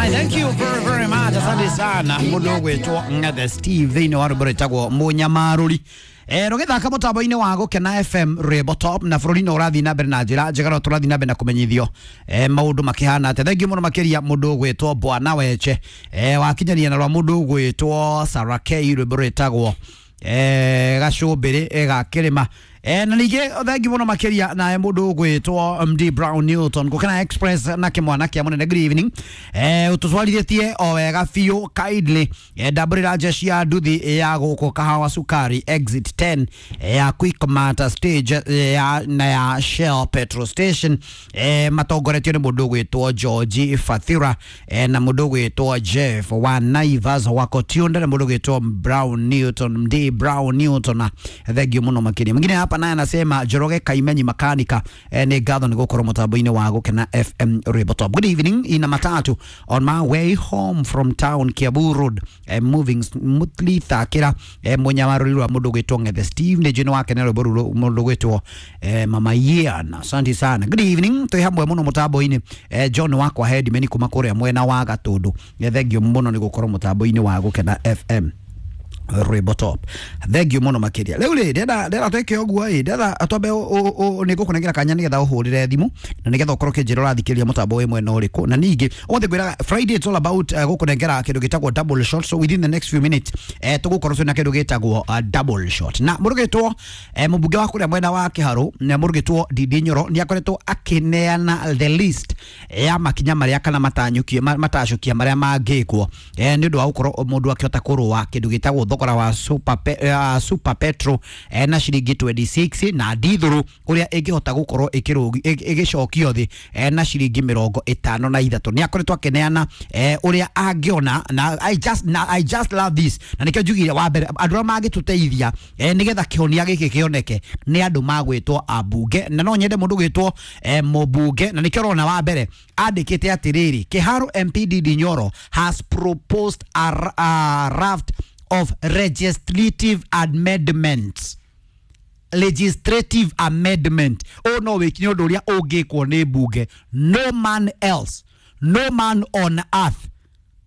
I thank you very very much. Asante sana mundu gwitwo Ngethe Steve thiini wa rwimbo rwitagwo Munyamaruri. Rũgĩthaka mũtambo-inĩ wa Gũkena FM Rwĩmbo Top na bũrũri-inĩ ũrathiĩ na mbere na njĩra njega no tũrathiĩ na mbere na kũmenyithio maũndũ makĩhana atĩa. Thengiũ mũno makĩria mũndũ ũgwĩtwo Bwana Weche wakinyania na rwa mũndũ ũgwĩtwo Sarah K rwĩmbo rwĩtagwo gacũmbĩrĩ ga kĩrĩma na ningĩ thengiũ mũno makĩria naye mũndũ ũgwĩtwo MD Brown Newton Gũkena Express na kĩmwana kĩa mũnene. Good evening. Ũtũtwarithĩtie o wega biũ kindly. Ndambũrĩra jeshi ya nduthi ya gũkũ kahawa sukari exit 10 ya Quickmart stage ya, na ya Shell petrol station matongoretio nĩ mũndũ ũgwĩtwo George Fathira na mũndũ ũgwĩtwo Jeff wa Naivas wa Kotiunda na mũndũ ũgwĩtwo Brown Newton MD Brown Newton na thengiũ mũno makĩria. Mwingine hapa naye anasema Njoroge Kaimenyi makanika nĩ ngatho nĩ gũkorwo mũtambo-inĩ wa Gũkena FM Rwĩmbo Top. Good evening, ina matatu on my way home from town Kiambu Road moving smoothly thakĩra mũnyamarũri rwa mũndũ ũgwĩtwo Ngethe Steve nĩ njũĩ nĩ wakena rwĩmbo rũrũ mũndũ ũgwĩtwo Mama Ian. Asante sana. Good evening, twĩ hamwe mũno mũtambo-inĩ John wakwa Hedimeni kuma kũrĩa mwena wa Gatũndũ. Thengiũ mũno nĩ gũkorwo mũtambo-inĩ wa Gũkena FM Rwĩmbo Top. Thengiũ mũno makĩria. Rĩu rĩ ndĩrenda twĩke ũguo ĩ ndĩrenda twambe nĩ ngũkũnengera kanya nĩgetha ũhũrĩre thimũ na nĩgetha ũkorwo ũkĩnjĩra ũrathikĩrĩria mũtambo wĩ mwena ũrĩkũ. Na ningĩ ũmũthĩ ngwĩraga Friday it's all about gũkũnengera kĩndũ gĩtagwo double shot, so within the next few minutes tũgũkorwo twĩna kĩndũ gĩtagwo double shot. Na mũrũgĩtwo mũmbunge wa kũrĩa mwena wa Kĩharũ na mũrũgĩtwo Ndindi Nyoro nĩ akoretwo akĩneana the list ya makinya marĩa kana matanyũkie matacũkia marĩa mangĩkwo nĩ ũndũ wa gũkorwo mũndũ akĩhota kũrũa kĩndũ gĩtagwo thogora wa super petro na ciringi 26 na ndithũrũ ũrĩa ĩngĩhota gũkorwo ĩgĩcokio thĩ na ciringi 53. Nĩ akoretwo akĩneana ũrĩa angĩona na I just love this na nĩkĩo njugire wa mbere andũ arĩa mangĩtũteithia nĩgetha kĩhonia gĩkĩ kĩoneke nĩ andũ magwĩtwo ambunge na no nyende mũndũ gwĩtwo mũmbunge na nĩkĩo ũrona wa mbere andĩkĩte atĩrĩrĩ, Kĩharũ MP Ndindi Nyoro has proposed a raft of legislative amendments. Legislative amendment o no wiki nĩ ũndũ ũrĩa ũngĩkwo nĩ mbunge, no man else, no man on earth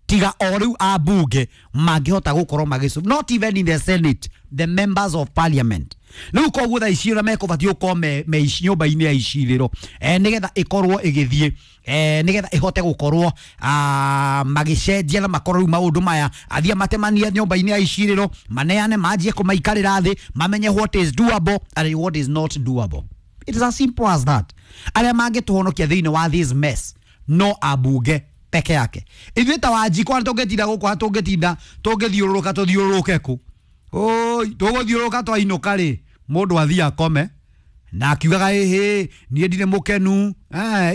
tiga o rĩu ambunge mangĩhota gũkorwo magĩcu, not even in the senate, the members of parliament. Rĩu koguo thaa ici ũrĩa mekũbatiĩ gũkorwo me nyũmba-inĩ ya icirĩro nĩgetha ĩkorwo ĩgĩthiĩ nĩgetha ĩhote gũkorwo magĩcenjia na makorwo rĩu maũndũ maya athiĩ matemanie nyũmba-inĩ ya icirĩro maneane manjie kũmaikarĩra thĩ mamenye what is doable and what is not doable. It is as simple as that. Arĩa mangĩtũhonokia thĩinĩ wa this mess no ambunge peke yake. Ithuĩ ta Wanjikwa tũngĩtinda gũkũ tũngĩtinda tũngĩthiũrũrũka tũthiũrũrũke kũ? Oi, tũgũthiũrũrũka twainũka rĩ mũndũ athiĩ akome na akiugaga ĩhĩ niĩ ndirĩ mũkenu.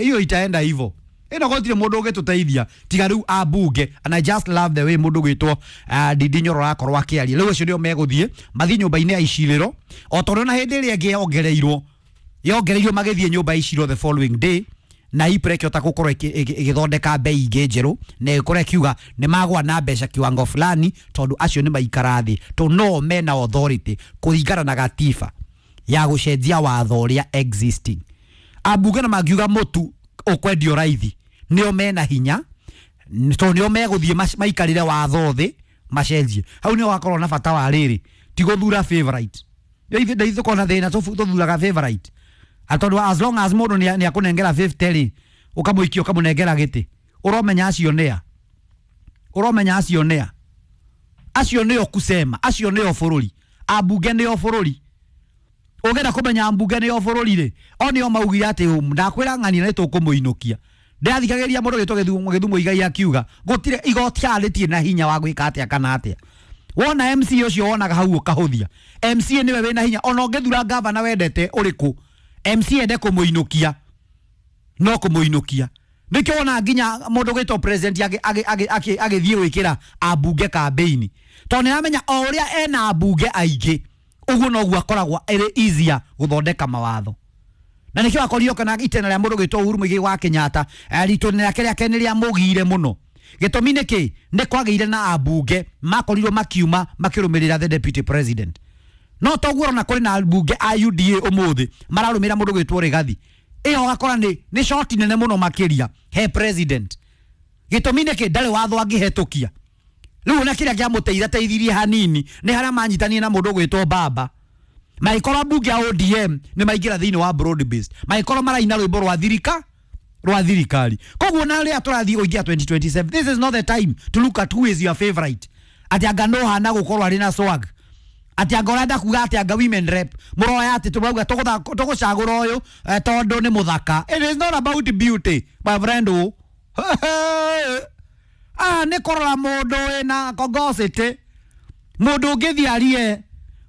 Hiyo itaenda hivyo. Ĩno gũtirĩ mũndũ ũngĩtũteithia tiga rĩu ambunge. And I just love the way mũndũ gwĩtwo Ndindi Nyoro arakorwo akĩaria. Rĩu acio nĩo megũthiĩ mathiĩ nyũmba-inĩ ya icirĩro o tondũ na hĩndĩ ĩrĩa ĩngĩ yongereirwo magĩthiĩ nyũmba ya icirĩro the following day na IPRA ĩkĩhota gũkorwo ĩgĩthondeka bei ingĩ njerũ na ĩkorwo ĩkiuga nĩ magwa na mbeca kiwango fulani tondũ acio nĩ maikara thĩ tondũ no mena authority kũringana na gatiba ya gũcenjia watho ũrĩa existing. Ambunge na mangiuga mũtu ũkwendio raithi nĩo mena hinya tondũ nĩo megũthiĩ maikarĩre watho thĩ macenjie. Hau nĩho wakorwo na bata wa rĩrĩ ti gũthura favorite. Ithuĩ tũkorwo na thĩna tũthuraga favorite atondũ as long as mũndũ nĩ akũnengera 50 rĩ ũkamũikia ũkamũnengera gĩtĩ ũromenya acio nĩa, ũromenya acio nĩa, acio nĩo kusema, acio nĩo bũrũri, ambunge nĩo bũrũri. Ũngĩenda kũmenya ambunge nĩo bũrũri rĩ o nĩo maugire atĩ ndakwĩra ng'ania nĩ tũkũmũinũkia. Ndĩrathikagĩrĩria mũndũ ũgĩtwo Gĩthumo Igai akiuga gũtirĩ igoti haha rĩtirĩ na hinya wa gwĩka atĩa kana atĩa. Wona MC ũcio wonaga hau ũkahũthia MC nĩwe wĩna hinya ona ũngĩthura gavana wendete ũrĩkũ MC ende kũmũinũkia no kũmũinũkia. Nĩkĩo wona nginya mũndũ ũgwĩtwo president agĩthiĩ gwĩkĩra ambunge kambĩini tondũ nĩaramenya o ũrĩa ena ambunge aingĩ ũguo noguo akoragwo ĩrĩ easier gũthondeka mawatho. Na nĩkĩo akorirwo kana itena rĩa mũndũ ũgwĩtwo Uhuru Muigai wa Kenyatta ritũ rĩake rĩake nĩ rĩamũgiire mũno. Gĩtũmi nĩ kĩ? Nĩ kwagĩire na ambunge makorirwo makiuma makĩrũmĩrĩra the deputy president. No toguo ona kũrĩ na ambunge a UDA ũmũthĩ mararũmĩrĩra mũndũ ũgwĩtwo Rigathi. Ĩyo ũgakora nĩ shoti nene mũno makĩria he president. Gĩtũmi nĩ kĩ ndarĩ watho angĩhetũkia. Rĩu na kĩrĩa kĩamũteithia teithirie hanini nĩ harĩa manyitanie na mũndũ ũgwĩtwo baba. Maikorwo mbunge ya ODM nĩ maingĩra thĩinĩ wa broad based. Maikorwo maraina rwĩmbo rwa thirika rwa thirikari. Koguo na rĩrĩa tũrathiĩ kũingĩra 2027, this is not the time to look at who is your favorite. Atĩ anga no hana gũkorwo arĩ na swag. Atĩ anga ũrenda kuga atĩ anga women rep mũroya atĩ tũrauga tũgũcagũra ũyũ tondũ nĩ mũthaka. It is not about beauty, my friend. Ah, nĩ kũrora mũndũ wĩna kongocity, mũndũ ũngĩthiĩ arie,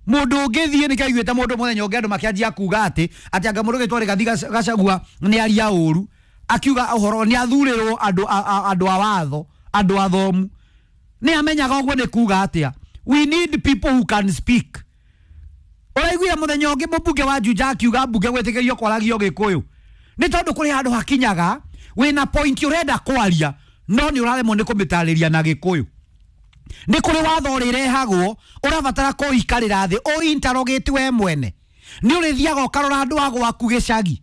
mũndũ ũngĩthiĩ nĩ kaiguĩte mũndũ mũthenya ũngĩ andũ makĩanjia kuga atĩ atĩ anga mũndũ ũgĩtwo Rigathi Gachagua nĩ aria ũru, akiuga ũhoro nĩ athurĩrwo andũ andũ a watho, andũ athomu. Nĩ amenyaga ũguo nĩ kuga atĩa. We need people who can speak. Ũraiguire mũthenya ũngĩ mũmbunge wa Juja akiuga mbunge gwĩtĩkĩrio kwaragio Gĩkũyũ. Nĩ tondũ kũrĩ handũ hakinyaga wĩna point ũrenda kwaria no nĩ ũraremwo nĩ kũmĩtarĩria na Gĩkũyũ. Nĩ kũrĩ watho ũrĩrehagwo ũrabatara kũikarĩra thĩ ũ interrogate we mwene. Nĩ ũrĩthiaga ũkarora andũ a gwaku gĩcagi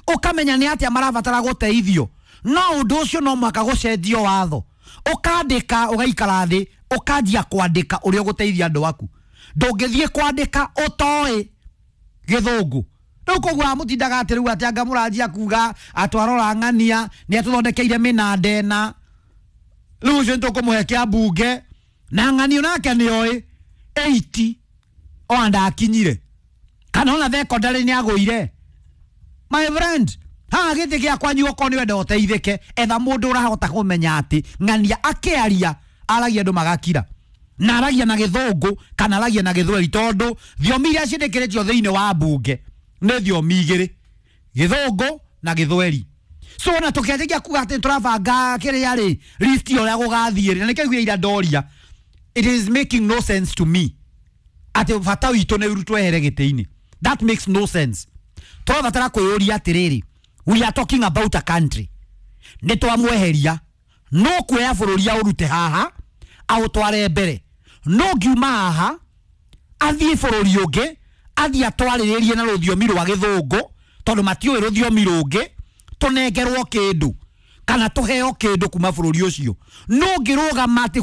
ũkamenya nĩ atĩa marabatara gũteithio, no ũndũ ũcio no mũhaka gũcenjio watho. Ũkandĩka ũgaikara thĩ ũkanjia kwandĩka ũrĩa ũgũteithia andũ aku. Ndũngĩthiĩ kwandĩka ũtoĩ gĩthũngũ. Rĩu koguo amũtindaga atĩ rĩu atĩ anga mũranjia kuga atwarora ng'ania nĩ atũthondekeire mĩnanda ĩna, rĩu ũcio nĩtũkũmũhe kĩa mbunge na ng'anio nake nĩoĩ 80 ona ndakinyire kana ona thekondarĩ nĩ agũire. My friend, haha gĩtĩ gĩa kwanyu okorwo nĩ wenda ũteithĩke, etha mũndũ ũrahota kũmenya atĩ ng'ania akĩaria aragia andũ magakira, na aragia na gĩthũngũ kana aragia na gĩthweri, tondũ thiomi iria ciĩtĩkĩrĩtio thĩinĩ wa mbunge nĩ thiomi igĩrĩ, gĩthũngũ na gĩthweri. So ona tũkĩanjĩria kuga atĩ tũrabanga kĩrĩa rĩ list ũrĩa gũgathiĩ rĩ, na nĩkĩo ira ndoria, it is making no sense to me atĩ bata witũ nĩ ũrutwo ehere gĩtĩ-inĩ. That makes no sense. Tũrabatara kwĩyũria atĩrĩrĩ, we are talking about a country, nĩ twamweheria no kuoya bũrũri aũrute haha aũtware mbere, no ngiuma haha athiĩ bũrũri ũngĩ athiĩ atwarĩrĩrie na rũthiomi rwa gĩthũngũ tondũ matiũĩ rũthiomi rũngĩ, tũnengerwo kĩndũ kana tũheo kĩndũ kuma bũrũri ũcio. No ngĩrũgama atĩ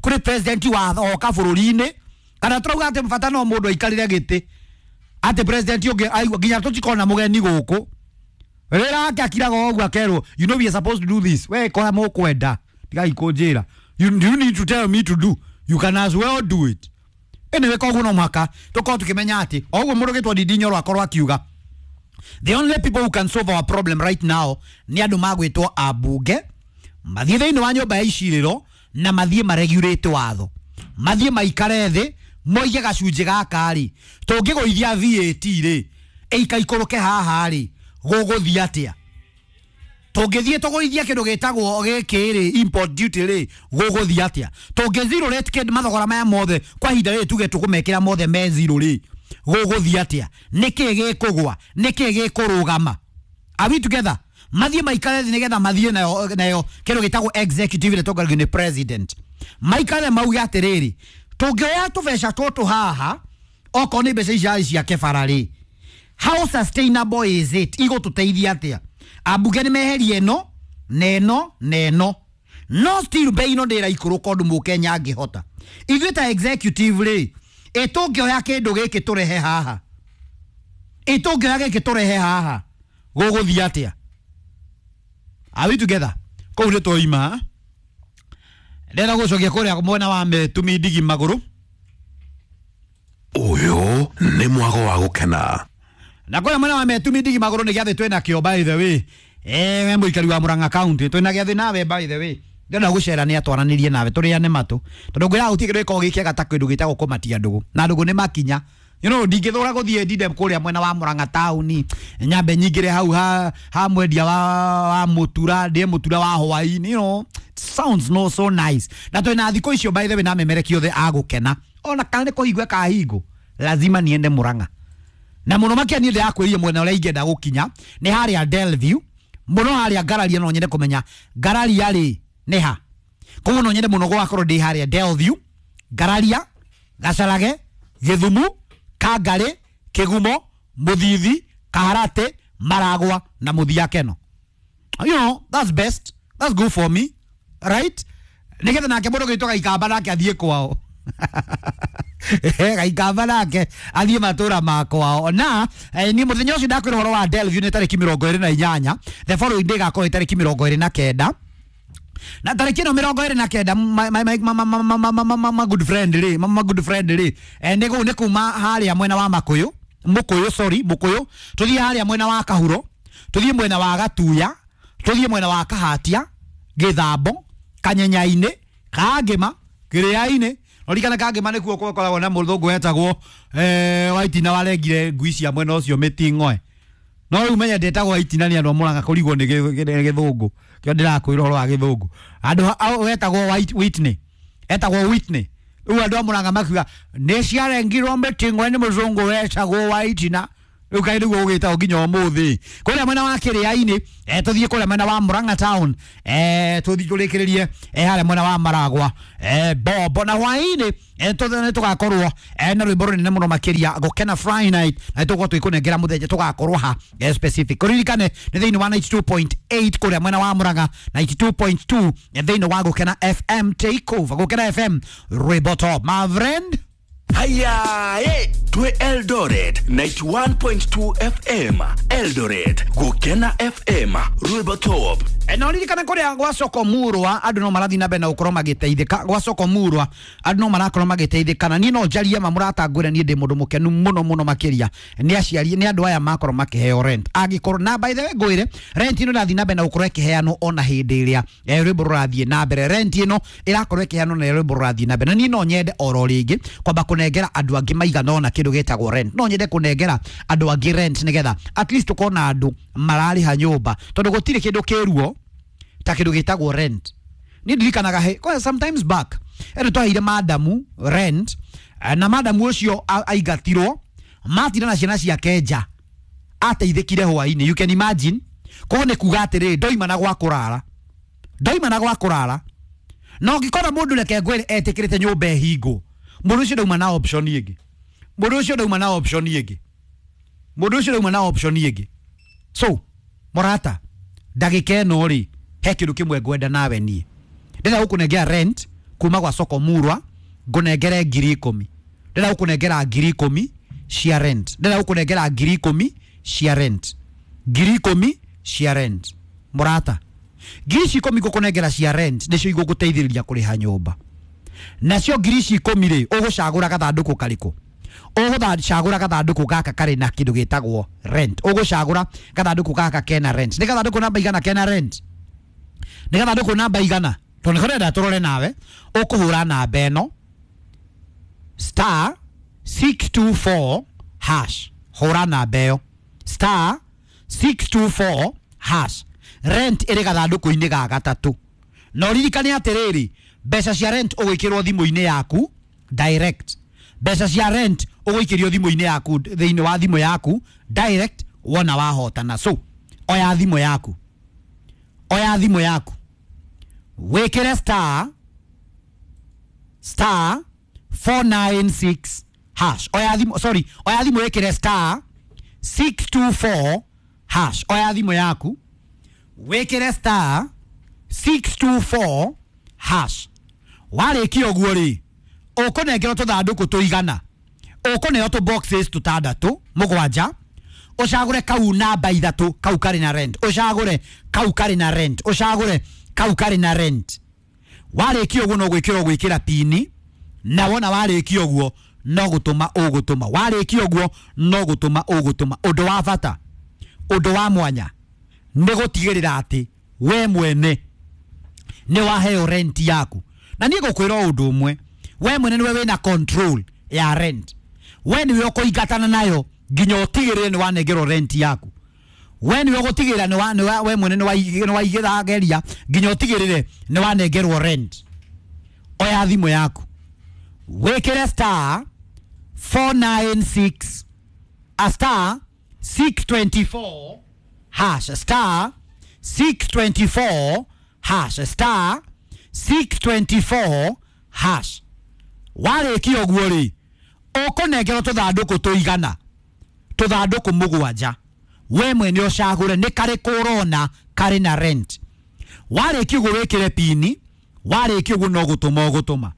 kũrĩ president wa oka bũrũri-inĩ kana tũrauga atĩ bata no mũndũ aikarĩre gĩtĩ atĩ president ũngĩ aigua nginya tũtikona mũgeni gũkũ rĩrĩa ake akiraga ũguo akerwo, you know we are supposed to do this, we kora mũkwenda tigai kũnjĩra, you need to tell me to do, you can as well do it. Anyway, koguo no mũhaka tũkorwo tũkĩmenya atĩ o ũguo mũndũ ũgĩtwo Ndindi Nyoro akorwo akiuga the only people who can solve our problem right now nĩ andũ magwĩtwo ambunge mathiĩ thĩinĩ wa nyũmba ya icirĩro na mathiĩ maregulate watho, mathiĩ maikare thĩ moige gacunjĩ gaka rĩ tũngĩgũithia VAT rĩ ĩikaikũrũke haha rĩ gũgũthiĩ atĩa, tũngĩthiĩ tũgũithie kĩndũ gĩtagwo gĩkĩ rĩ import duty rĩ gũgũthiĩ atĩa, tũngĩ zero rate kĩndũ mathogora maya mothe kwa ihinda rĩrĩ tuge tũkũmekĩra mothe me zero rĩ gũgũthiĩ atĩa, nĩkĩ gĩkũgwa, nĩkĩ gĩkũrũgama. Are we together? Mathiĩ maikare thĩ nĩgetha mathiĩ nayo kĩndũ gĩtagwo executive ĩrĩa ĩtongoragio nĩ president, maikare mauge atĩrĩrĩ tũngĩoya tũbeca tũtũ haha okorwo nĩ mbeca ici cia kebara rĩ, how sustainable is it, igũtũteithia atĩa? Ambunge nĩ meherie ĩno na ĩno na ĩno, no still bei ĩno ndĩraikũrũka ũndũ mũkenya angĩhota. Ithuĩ ta executive rĩ, ĩ tũngĩoya kĩndũ gĩkĩ tũrehe haha, ĩ tũngĩoya gĩkĩ tũrehe haha gũgũthiĩ atĩa? Are we together? Kũu nĩ twaima ndĩrenda gũcokia kũrĩa mwena wa Metumi ndigi magũrũ. Ũyũ nĩ mwago wa gũkena. Na kũrĩa mwena wa Metumi ndigi magũrũ nĩ gĩathĩ twĩna kĩo by the way. We mũikari wa Murang'a County twĩna gĩathĩ nawe by the way. Ndĩrenda gũcera nĩ atwaranĩrie nawe tũrĩane matũ tondũ ngwĩra gũtirĩ kĩndũ gĩkoragwo gĩ kĩega ta kĩndũ gĩtagwo kũmatia ndũgũ na ndũgũ nĩ makinya. You know, ndingĩthũra gũthiĩ ndinde kũrĩa mwena wa Murang'a taũni nyambe nyingĩre hau ha mwendia wa mũtura ndĩe mũtura wa hwaĩ-inĩ, you know, sounds no so nice. Na twĩna thikũ icio by the way na memereki othe agũkena ona kana nĩ kũhingwo ĩkahingwo lazima niende Murang'a. Na mũno makĩria niĩ ndĩrakwĩrire mwena ũrĩa ingĩenda gũkinya nĩ harĩa Delview, mũno harĩa Ngararia, no nyende kũmenya Ngararia rĩ nĩ ha. Koguo no nyende mũno gũgakorwo ndĩ harĩa Delview, Ngararia, Gacarage, Gĩthumu, Kangarĩ, Kĩgumo, Mũthithi, Kaharate, Maragwa na Mũthia Keno. You know, that's best. That's good for me. Right, nigetha nake mũndũ gĩtwo Gaikamba nake athiĩ kwao. Gaikamba nake athiĩ matũra ma kwao. Na ni mũthenya ũcio ndakwĩra ũhoro wa Delview nĩ tarĩki 28. The following day gakorwo tarĩki 29, na tarĩki ĩno 29, my good friend rĩ, my good friend rĩ, nĩ kuma harĩa mwena wa Makuyu, Mukuyu, sorry, Mukuyu, tuthiĩ harĩa mwena wa Kahuro, tuthiĩ mwena wa Gatuya, tuthiĩ mwena wa Kahatia, Githambo, Kanyenyainĩ, Kangĩma, Kĩrĩa-inĩ. Ririkana Kangĩma nĩkuo gũkoragwo na mũthũngũ wetagwo Waitina, warengire ngui cia mwena ũcio mĩting'oe. No rĩu menye ndĩtagwo Waitina nĩ andũ a Mũrang'a kũrigwo nĩ gĩthũngũ kĩo ndĩrakwĩra ũhoro wa gĩthũngũ. Andũ wetagwo Whitney, etagwo Whitney. Rĩu andũ a Mũrang'a makiuga nĩ ciarengirwo mĩting'oe nĩ mũthũngũ wetagwo Waitina. Rĩu kaĩ nĩguo ũgĩtagwo nginya ũmũthĩ. Kũrĩa mwena wa Kĩrĩa-inĩ, tũthiĩ kũrĩa mwena wa Murang'a town, tũthiĩ tũrĩkĩrĩrie harĩa mwena wa Maragwa, Bombo. Na hwaĩ-inĩ nĩ tũgakorwo na rwĩmbo rũnene mũno makĩria, Gũkena Friday Night, na tũgũkorwo tũgĩkũnengera mũthenya tũgakorwo ha specific. Kũririkane nĩ thĩinĩ wa 92.8 kũrĩa mwena wa Murang'a, 92.2 thĩinĩ wa Gũkena FM Takeover. Gũkena FM, rwĩmbo top, my friend. Haya, twe Eldoret 91.2 FM, Eldoret Gukena FM, rwĩmbo top. Na ririkana kuria gwa soko murwa andu no marathi na mbere na gukorwo magiteithika. Gwa soko murwa andu no marakorwo magiteithika, na niĩ no njarie ma mũratangwĩra niĩ ndĩ mũndũ mũkenu mũno mũno makĩria nĩ aciari nĩ andũ aya makorwo makĩheo rent. Angĩkorwo na by the way ngwĩre, rent ĩno ĩrathiĩ na mbere na gũkorwo ĩkĩheanwo ona hĩndĩ ĩrĩa rwĩmbo rũrathiĩ na mbere. Rent ĩno ĩrakorwo ĩkĩheanwo na rwĩmbo rũrathiĩ na mbere, na niĩ no nyende oro rĩngĩ kwamba kũnengera andũ angĩ maigana ona kĩndũ gĩtagwo rent. No nyende kũnengera andũ angĩ rent nĩgetha at least tũkona andũ mararĩha nyũmba, tondũ gũtirĩ kĩndũ kĩruo ta kĩndũ gĩtagwo rent. Niĩ ndirikanaga he kwa sometimes back ĩno twaheire madamu rent, na madamu ũcio aingatirwo matinda na ciana ciake nja, ateithĩkire hwainĩ. You can imagine. Koguo nĩ kuga atĩrĩrĩ, ndoima na gwa kũrara, ndoima na gwa kũrara. Na ũngĩkora mũndũ, reke ngwĩre, etĩkĩrĩte nyũmba ĩhingwo, mũndũ ũcio ndauma na option ĩngĩ, mũndũ ũcio ndauma na option ĩngĩ, mũndũ ũcio ndauma na option ĩngĩ. So mũrata, ndagĩka ĩno rĩ, he kĩndũ kĩmwe ngwenda nawe. Niĩ ndĩrenda gũkũnengera rent kuma gwa soko murwa, ngũnengere 10,000. Ndĩrenda gũkũnengera 10,000 cia rent. Ndĩrenda gũkũnengera 10,000 cia rent, 10,000 cia rent. Mũrata, ngiri ici 10 ngũkũnengera cia rent nĩcio igũgũteithĩrĩria kũrĩha nyũmba. Nacio ngiri ici 10 rĩ, ũgũcagũra gathandũkũ karĩkũ? Ũgũcagũra gathandũkũ gaka karĩ na kĩndũ gĩtagwo rent. Ũgũcagũra gathandũkũ gaka kena rent. Nĩ gathandũkũ namba igana kena rent? Nĩ gathandũkũ namba igana? Tondũ nĩko ndĩrenda tũrore nawe. Ũkũhũra namba ĩno, star 624 hash. Hũra namba ĩyo, star 624 hash. Rent ĩrĩ gathandũkũ-inĩ ga gatatũ. Na ũririkane atĩrĩrĩ, mbeca cia rent ũgwĩkĩrwo thimũ-inĩ yaku direct. Mbeca cia rent ũgũikĩrio thimũ-inĩ yaku, thĩinĩ wa thimũ yaku direct wona wahotana. So oya thimũ yaku, oya thimũ yaku, wĩkĩre star 496 hash. Oya thimũ, sorry, oya thimũ wĩkĩre star 624 hash. Oya thimũ yaku wĩkĩre star 624 hash. Warĩkia ũguo rĩ, ũkũnengerwo tũthandũkũ tũigana, ũkũneo tũ boxes tũtandatũ mũgwanja. Ũcagũre kau namba 3, kau karĩ na rent. Ũcagũre kau karĩ na rent, ũcagũre kau karĩ na rent. Warĩkia ũguo no gwĩkĩra, ũgwĩkĩra pini, na wona warĩkia ũguo no gũtũma ũgũtũma. Warĩkia ũguo no gũtũma ũgũtũma. Ũndũ wa bata, ũndũ wa mwanya nĩ gũtigĩrĩra atĩ we mwene nĩ waheo rent yaku. Na niĩ ngũkwĩra ũndũ ũmwe, we mwene nĩwe wĩna control ya rent. We nĩwe ũkũingatana nayo nginya ũtigĩrĩre nĩ wanengerwo rent yaku. We nĩwe ũgũtigĩrĩra nĩ we mwene nĩ waigĩrageria nginya ũtigĩrĩre nĩ wanengerwo rent. Oya thimũ yaku wĩkĩre star 496 a star 624 hash, star 624 hash, star 624 hash. Warĩkia ũguo rĩ, ũkũnengerwo tũthandũkũ tũigana, tũthandũkũ mũgwanja. We mwene ũcagũre nĩ karĩkũ ũrona karĩ na rent. Warĩkia ũguo wĩkĩre pini. Warĩkia ũguo no gũtũma ũgũtũma.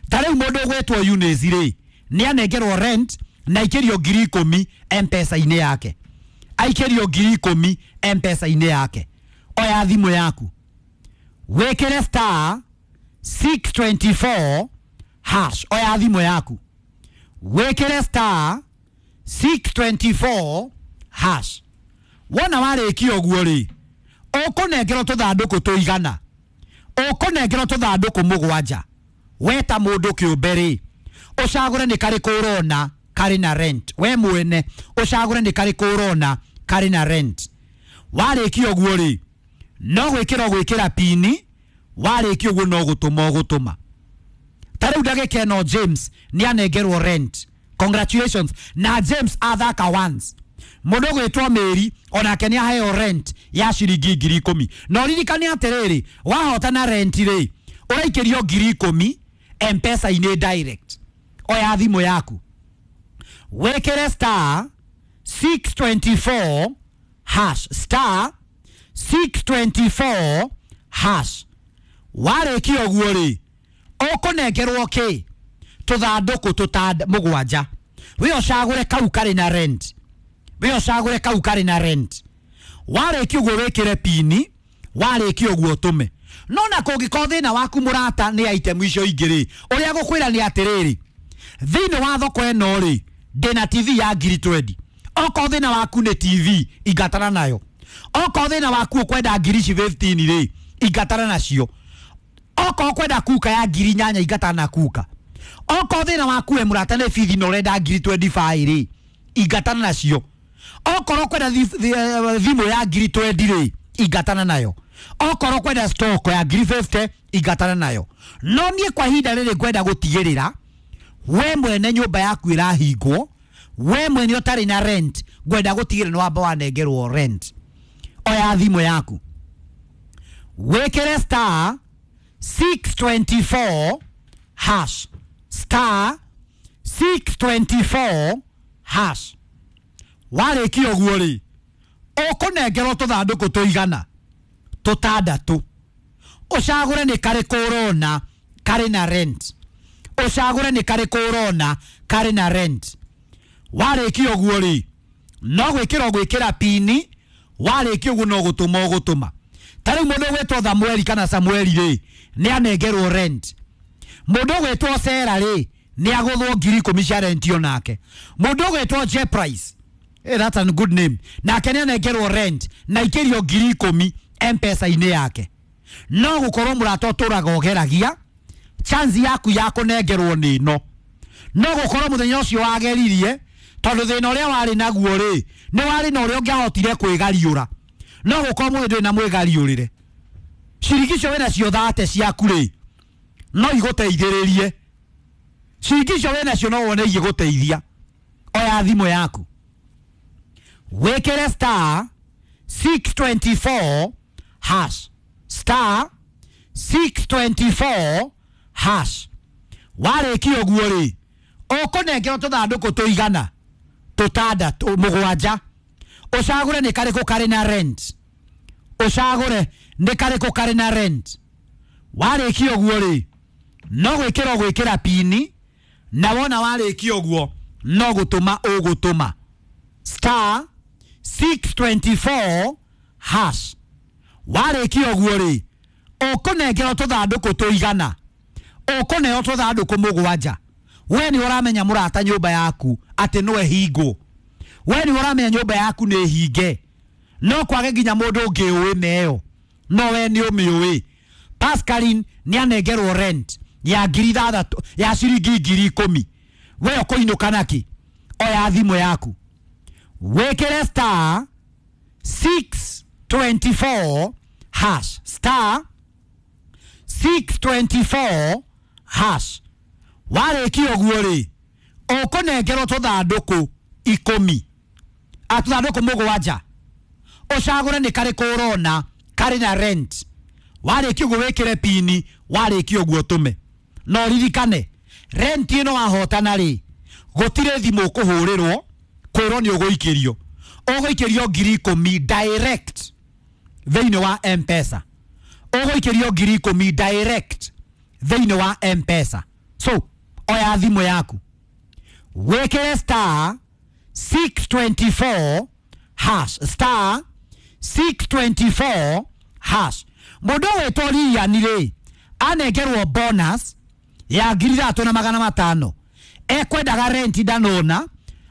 Ta rĩu mũndũ ũgwĩtwo Eunice rĩ, nĩ anengerwo rent na aikĩrio 10,000 M-Pesa-inĩ yake. Aikĩrio 10,000 M-Pesa-inĩ yake. Oya thimũ yaku, wĩkĩre star 624 hash. Oya thimũ yaku, wĩkĩre star 624 hash. Wona warĩkia ũguo rĩ, ũkũnengerwo tũthandũkũ tũigana, ũkũnengerwo tũthandũkũ mũgwanja. We ta mũndũ kĩũmbe rĩ, ũcagũre nĩ karĩkũ ũrona karĩ na rent. We mwene ũcagũre nĩ karĩkũ ũrona karĩ na rent. Warĩkia ũguo rĩ, no gwĩkĩra ũgwĩkĩra pini. Warĩkia ũguo no gũtũma ũgũtũma. Ta rĩu ndagĩka ĩno James nĩ anengerwo rent. Congratulations. Na James athaka once. Mũndũ ũgwĩtwo Mary onake nĩ aheo rent ya ciringi 10,000. Na ũririkane atĩrĩrĩ, wahotana rent rĩ, ũraikĩrio 10,000 M-Pesa-inĩ direct. Oya thimũ yaku, wĩkĩre star 624 hash, star 624 hash. Warĩkia ũguo rĩ, ũkũnengerwo kĩ? Tũthandũkũ tũtanda mũgwanja. We ũcagũre kau karĩ na rent. We ũcagũre kau karĩ na rent. Warĩkia ũguo wĩkĩre pini. Warĩkia ũguo ũtũme. No na kũngĩkorwo thĩna waku mũrata nĩ item icio ingĩ rĩ, ũrĩa gũkwĩra nĩ atĩrĩrĩ, thĩinĩ wa thoko ĩno rĩ, ndĩna TV ya 20,000. Okorwo thĩna waku nĩ TV, ingatana nayo. Okorwo thĩna waku ũkwenda 15,000 rĩ, ingatana nacio. Okorwo ũkwenda kuka ya 8,000, ingatana na kuka. Okorwo thĩna waku we mũrata nĩ bithi na ũrenda 25,000 rĩ, ingatana nacio. Okorwo ũkwenda thimũ ya 20,000 rĩ, ingatana nayo. Okorwo ũkwenda stock ya 50,000, ingatana nayo. No niĩ kwa ihinda rĩrĩ ngwenda gũtigĩrĩra we mwene nyũmba yaku ĩrahingwo, we mwene ũtarĩ na rent, ngwenda gũtigĩrĩra nĩ wamba wanengerwo rent. Oya thimũ yaku, wĩkĩre star 624 hash, star 624 hash. Warĩkia ũguo rĩ, ũkũnengerwo tũthandũkũ tũigana tũtandatũ. Ũcagũre nĩ karĩkũ ũrona karĩ na rent. Ũcagũre nĩ karĩkũ ũrona karĩ na rent. Warĩkia ũguo rĩ, no gwĩkĩra ũgwĩkĩra pini. Warĩkia ũguo no gũtũma ũgũtũma. Ta rĩu mũndũ ũgwĩtwo Samueli kana Samueli rĩ, nĩ anengerwo rent. Mũndũ ũgwĩtwo Sera rĩ, nĩ agũthwo 10,000 cia rent onake. Mũndũ ũgwĩtwo J Price, hey, that's a good name, nake nĩ anengerwo rent na ikĩrio 10,000 M-Pesa-inĩ yake. No gũkorwo mũrata ũtũraga ũgeragia, chance yaku ya kũnengerwo nĩ ĩno. No gũkorwo mũthenya ũcio wageririe, tondũ thĩna ũrĩa warĩ naguo rĩ, nĩ warĩ na ũrĩa ũngĩahotire kwĩgariũra. No gũkorwo mũthĩ ndũrĩ na mwĩgariũrĩre. Ciringi icio wĩna cio thate ciaku rĩ, no igũteithĩrĩrie. Ciringi icio wĩna cio no wone igĩgũteithia. Oya thimũ yaku, wĩkĩre star 624 hash, star 624 hash. Warĩkia ũguo rĩ, ũkũnengerwo tũthandũkũ tũigana tũtandatũ mũgwanja. Ũcagũre nĩ karĩkũ karĩ na rent. Ũcagũre nĩ karĩkũ karĩ na rent. Warĩkia ũguo rĩ, no gwĩkĩra ũgwĩkĩra pini. Na wona warĩkia ũguo no gũtũma ũgũtũma star 624 hash. Warĩkia ũguo rĩ, ũkũnengerwo tũthandũkũ tũigana, ũkũneo tũthandũkũ mũgwanja. We nĩ ũramenya mũrata nyũmba yaku atĩ no ĩhingwo. We nĩ ũramenya nyũmba yaku nĩ hinge. No kwage nginya mũndũ ũngĩ ũĩ meyo, no we nĩ ũmĩũĩ. Pascaline nĩ anengerwo rent ya 6,000, ya ciringi 10,000. We ũkũinũka nakĩ? Oya thimũ yaku, wĩkĩre star 624 hash, star 624 hash. Warĩkia ũguo rĩ, ũkũnengerwo tũthandũkũ 10, tũthandũkũ mũgwanja. Ũcagũre nĩ karĩkũ ũrona karĩ na rent. Warĩkia ũguo wĩkĩre pini. Warĩkia ũguo ũtũme. No ririkane, rent ĩno wahotana rĩ, gũtirĩ thimũ ũkũhũrĩrwo kwĩrwo nĩ ũgũikĩrio. Ũgũikĩrio 10,000 direct thĩinĩ wa M-Pesa. Ũgũikĩrio 10,000 direct thĩinĩ wa M-Pesa. So oya thimũ yaku wĩkĩre star 624 hash, star 624 hash. Mũndũ ũgwĩtwo Lilian rĩ anengerwo bonus ya 3,500, ekwendaga rent ndanona,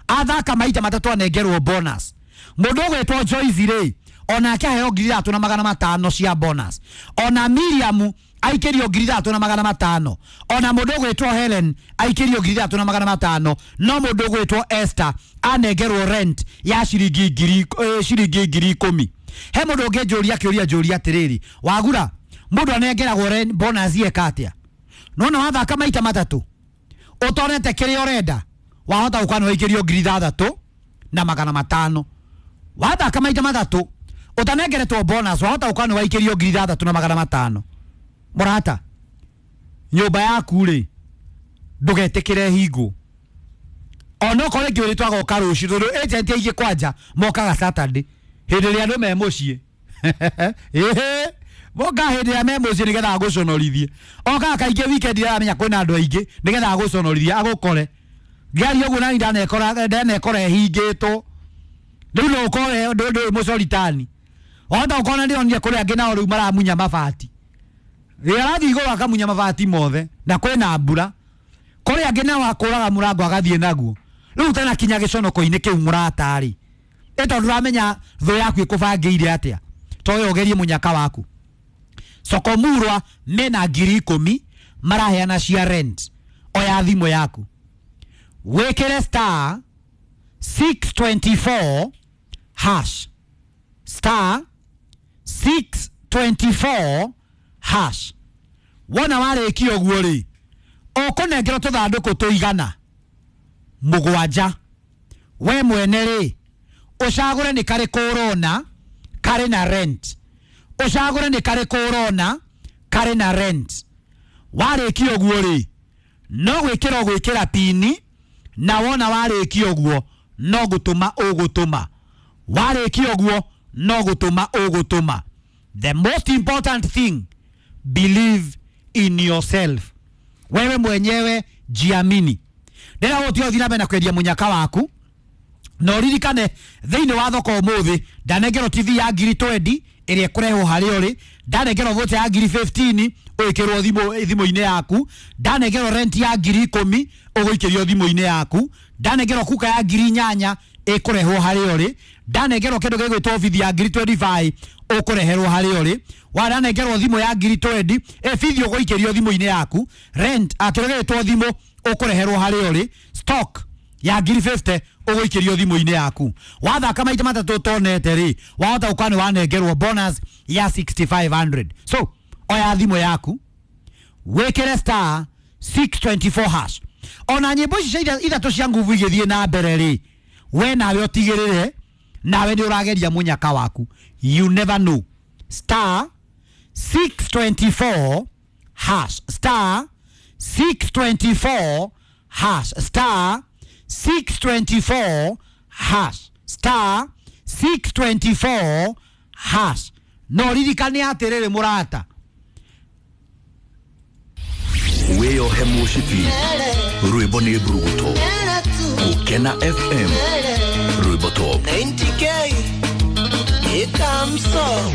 athaka maita matatũ anengerwo bonus. Mũndũ ũgwĩtwo Joyce rĩ onake aheo 3,500 cia bonus. Ona Miriam aikĩrio 3,500. Ona mũndũ ũgwĩtwo Helen aikĩrio 3,500. No mũndũ ũgwĩtwo Esther anengerwo rent ya ciringi 10,000. He mũndũ ũngĩ njũria kĩũria njũria atĩrĩrĩ, wagura mũndũ anengeragwo rent bonus eka atĩa? Nona wathaka maita matatũ ũtonete kĩrĩa ũrenda, wahota gũkorwo nĩ waikĩrio 6,500. Wathaka maita matatũ ũtanengeretwo bonus, wahota gũkorwo nĩ waikĩrio 6,500. Mũrata, nyũmba yaku rĩ ndũgetĩkĩre hingwo, onokorwo rĩngĩ ũrĩtwo agoka rũciũ, tondũ agent aingĩ kwanja mokaga Saturday hĩndĩ ĩrĩa andũ me mũciĩ. Ĩhĩ, mokaga hĩndĩ ĩrĩa me mũciĩ nĩgetha agũconorithie. Okaga kaingĩ weekend ĩrĩa aramenya kwĩna andũ aingĩ nĩgetha agũconorithie agũkore. Ngĩaria ũguo nani ndanekora ĩhingĩtwo. Rĩu no ũkore ndũĩ mũcoritani. Wahota gũkorwo ndĩronire kũrĩ angĩ nao rĩu maramunya mabati. Rĩrĩa arathiĩ igũrũ akamunya mabati mothe na kwĩna mbura. Kũrĩ angĩ nao akũraga mũrango agathiĩ naguo. Rĩu ũtanakinya gĩconoko-inĩ kĩu mũrata-rĩ, ĩ tondũ ndũramenya thũ yaku ĩkũbangĩire atĩa, toyo ũgerie mũnyaka waku. Sokomurwa mena 10,000 maraheana cia rent. Oya thimũ yaku wĩkĩre star 624 hash, star 624 hash. Wona warĩkia ũguo rĩ, ũkũnengerwo tũthandũkũ tũigana 7. We mwene rĩ ũcagũre nĩ karĩkũ ũrona karĩ na rent, ũcagũre nĩ karĩkũ ũrona karĩ na rent. Warĩkia ũguo rĩ, no gwĩkĩra ũgwĩkĩra pini, na wona warĩkia ũguo no gũtũma ũgũtũma. Warĩkia ũguo no gũtũma ũgũtũma. The most important thing, believe in yourself. Wewe mwenyewe jiamini. Ndĩra gũtia ũthiĩ na mbere na kwendia mũnyaka waku, na ũririkane thĩinĩ wa thoko ũmũthĩ ndanengerwo TV ya 20,000 ĩrĩa ĩkũrehwo harĩa ũrĩ, ndanengerwo voucher ya 15,000 ũgĩkĩrwo thimũ-inĩ yaku, ndanengerwo rent ya 10,000 ũgũikĩrio thimũ-inĩ yaku, ndanengerwo kuka ya 8,000 ĩkũrehwo harĩa ũrĩ, ndanengerwo kĩndũ gĩgwĩtwo bithi ya 25,000 ũkũreherwo harĩa ũrĩ, wananengerwo thimũ ya 20,000 bithi ũgũikĩrio thimũ-inĩ yaku, rent kĩndũ gĩgwĩtwo thimũ ũkũreherwo harĩa ũrĩ, stock ya 50,000 ũgũikĩrio thimũ-inĩ yaku. Wathaka maita matatũ ũtonete rĩ, wahota gũkorwo nĩ wanengerwo bonus ya 6,500. So oya thimũ yaku wĩkĩre star 624 hash. Ona nyĩmbo ici cia ithatũ cia nguvu igĩthiĩ na mbere rĩ, we nawe ũtigĩrĩre nawe nĩ ũrageria mũnyaka waku. You never know. Star 624 hash, star 624 hash, star 624 hash, star 624 hash. No ririkane atĩrĩrĩ mũrata, wĩyohe mũcibi rwĩmbo nĩ mburuguto. Gũkena FM rwĩmbo top 90K ikamso.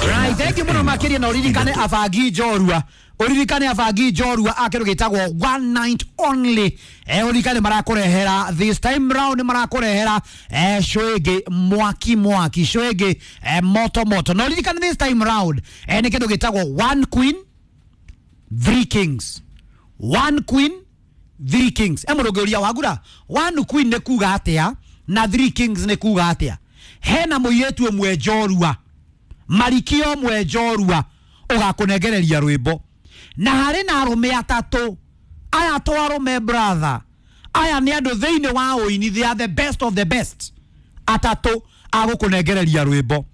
Right, thank you mũno makĩria. Na ũririkane abangi njorua, ũririkane abangi njorua a kĩndũ gĩtagwo one night only. Ũririkane marakũrehera this time round, marakũrehera show ĩngĩ mwaki mwaki, show ĩngĩ moto moto. Na ũririkane this time round nĩ kĩndũ gĩtagwo one queen three kings, one queen three kings. Mũndũ ũngĩũria wagura one queen nĩ kuga atĩa na three kings nĩ kuga atĩa? Hena mũirĩtu ũmwe njorua, marikio ũmwe njorua ũgakũnengereria rwĩmbo, na harĩ na arũme atatũ. Aya to arũme brother, aya nĩ andũ thĩinĩ wa ũini, they are the best of the best. Atatũ agũkũnengereria rwĩmbo,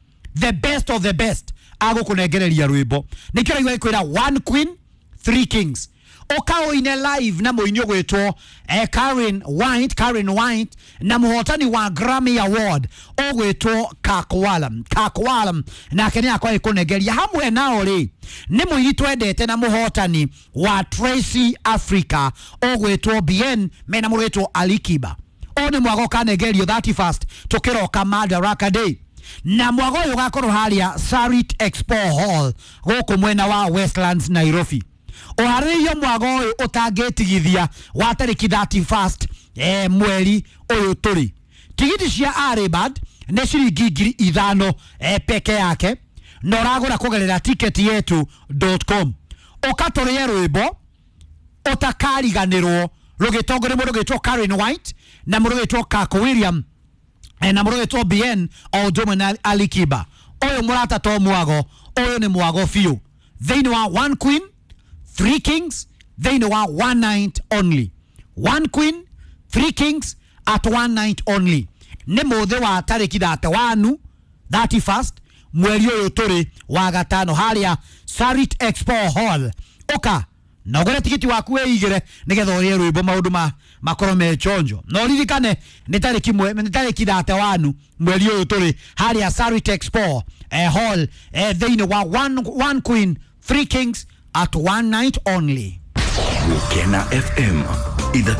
the best of the best agũkũnengereria rwĩmbo. Nĩkĩo raigua gĩkwĩra one queen three kings. Ũkaũine live na mũini ũgwĩtwo Karen White, Karen White na mũhotani wa Grammy Award ũgwĩtwo Kakwalam. Kakwalam nake nĩ akorwo agĩkũnengeria hamwe nao rĩ nĩ mũini twendete na mũhotani wa Tracy Africa ũgwĩtwo Bien mena mũrwĩtwo Alikiba. Ũyũ nĩ mwago ũkanengerio 31st tũkĩroka Madaraka Day, na mwago ũyũ ũgakorwo harĩa Sarit Expo Hall gũkũ mwena wa Westlands, Nairobi. Ũharĩrĩirio mwago ũyũ ũtangĩtigithia wa tarĩki 31st mweri ũyũ tũrĩ. Tigiti cia Aribad nĩ ciringi 5,000 peke yake, na ũragũra kũgerera ticket yetu.com. Ũkatũrĩe rwĩmbo ũtakariganĩrwo rũgĩtongorio mũndũ ũgĩtwo Karen White na mũndũ ũgĩtwo Kako William na mũndũ ũgĩtwo BN o ũndũ ũmwe na Alikiba. Ũyũ mũrata to mwago, ũyũ nĩ mwago biũ thĩinĩ wa One Queen Three Kings, thĩinĩ wa one night only. One Queen Three Kings at one night only, nĩ mũthĩ wa tarĩki 31, 31st mweri ũyũ tũrĩ wa gatano harĩa Sarit Expo Hall. Ũka na ũgũre tigiti waku wĩigĩre nĩgetha ũrĩe rwĩmbo maũndũ ma makorwo me chonjo. Na ũririkane nĩ tarĩki nĩ tarĩki 31 mweri ũyũ tũrĩ harĩa Sarit Expo Hall thĩinĩ wa one Queen Three Kings at one night only. Gũkena FM 3.